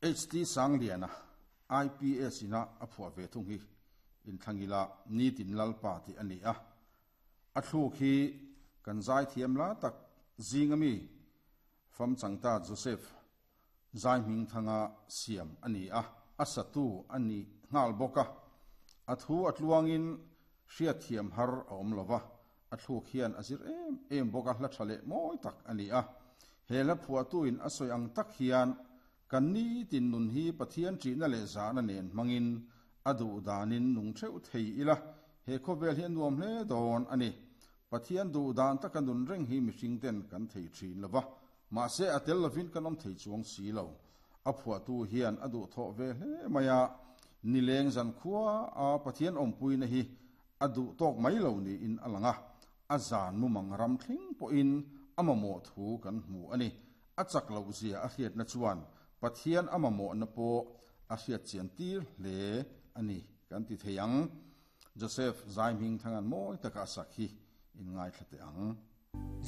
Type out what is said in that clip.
HT Sangliana, IPS ina a phuah ve thung hi Inthlangila Nitin Lalpa tih a ni a. A thluk hi kan zaithiam la tak zinga mi Famchangta Joseph Zaihmingthanga siam a ni a, a satu a ni nghal bawk a. A thu a tluangin hriatthiam har a awm lo va, a thluk hian a zir em em bawk a, hla tha leh mawi tak a ni a. He hla phuahtuin a sawi ang tak hian kan nitin nun hi Pathian ṭihna leh zahna nen hmangin a duh danin nung theuh thei ila, he khawvel hi a nuam hle dawn a ni. Pathian duh dan taka nun reng hi mihring ten kan thei ṭhin lo va, Mahse, a tel lovin kan awm thei chuang si lo. A phuahtu hian a duhthawh ve hle mai a, nileng zan khua a Pathian awmpuina hi a duh tawk mai lo niin a lang a, a zan mumang ram thleng pawhin a mamawh thu kan hmu a ni. A chak loh zia a hriatna chuan Pathian a mamawhna pawh a hriat chian tir hle a ni kan ti thei ang. Joseph Zaihming Thangan mawi taka a sak hi in ngaithla teh ang.